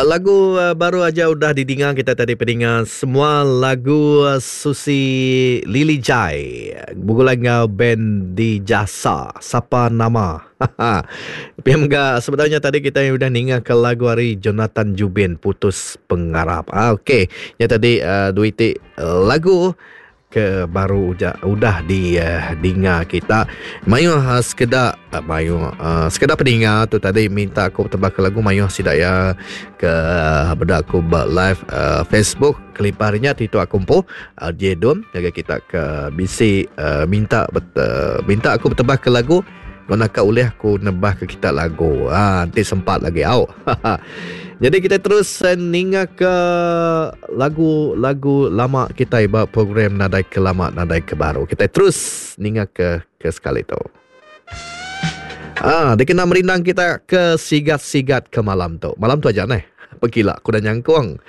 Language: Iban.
Lagu baru aja udah didinga kita tadi pedinga semua lagu Susi Lily Jai begulai enggau band Dijasa Sapa Nama. Pia mega sebedau nya tadi kita udah ninga ke lagu ari Jonathan Jubin Putus Pengarap. Ah okey, nya tadi dua iti lagu ke baru uja udah di dinga kita mayuh sekeda mayuh sekeda peninga tu tadi minta aku betebah ke lagu mayuh sida iya ke meda aku ba live Facebook kelimpah ari nya ti tu aku empu RJ Dum ngagai kita ke bisi minta minta aku betebah ke lagu Enggau naka ulih aku nebah ke kita lagu. Ha, enti sempat lagi au. Jadi kita terus eh, ninga ke lagu-lagu lama kita ba program Nadai Ke Lama Nadai Ke Baru. Kita terus ninga ke ke sekali tu. Ah, dikena merindang kita ke sigat-sigat ke malam tu. Malam tu aja neh. Pegila aku dah nyangkung.